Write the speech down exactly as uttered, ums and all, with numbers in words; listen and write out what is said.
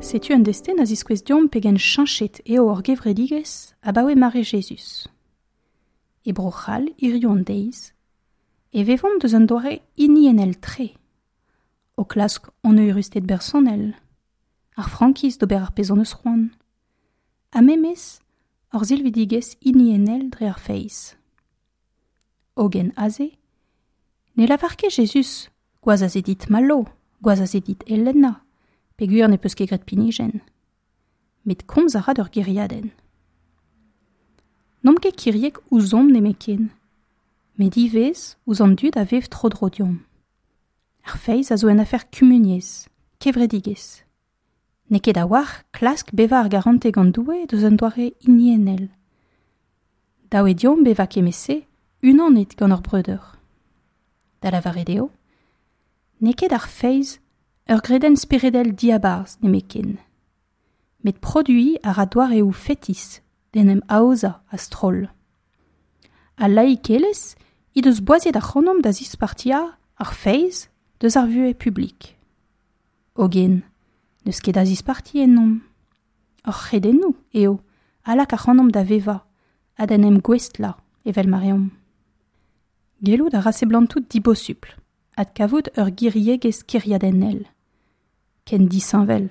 Setu un destenn a ziskouez deomp pegen cheñchet eo hor gevredigezh abaoe mare Jezuz. E Bro-C'hall hiziv an deiz, e vevomp deus un doare hiniennel-tre, o klask hon eürusted bersonel, ar frankiz d'ober ar pezh hon eus c'hoant, ha memes hor silvidigezh hiniennel dre ar feiz. Hogen aze, ne lavar ket Jezuz, gwazh a se dit Malo, gwazh a se dit Elena, peogwir n'ez peus ket graet pinijenn. Met komz a ra d'ur gêriadenn. N'omp ket kiriek ouzhomp nemetken, met ivez ouzh an dud a vev tro-dro deomp. Ar feiz a zo un afer kumuniezh, kevredigezh. N'eo ket a-walc'h klask bevañ ar garantez gant Doue deus un doare hiniennel. Dav eo deomp bevañ kement-se unanet gant hor breudeur. Da lavaret eo, n'eo ket ar feiz ur gredenn speredel diabarzh nemetken. Met produiñ a ra doareoù fetis d'en em aozañ a-stroll. Al laikelezh he deus boaziet ac'hanomp da zispartiañ ar feiz deus ar vuhez publik. Hogen, n'eus ket a zisparti ennomp. Hor c'hredennoù eo a lak ac'hanomp da vevañ ha d'en em gouestlañ evel ma reomp. Gellout a ra seblantout dibosupl adkavout ur giriegezh kêriadennel. Ken disheñvel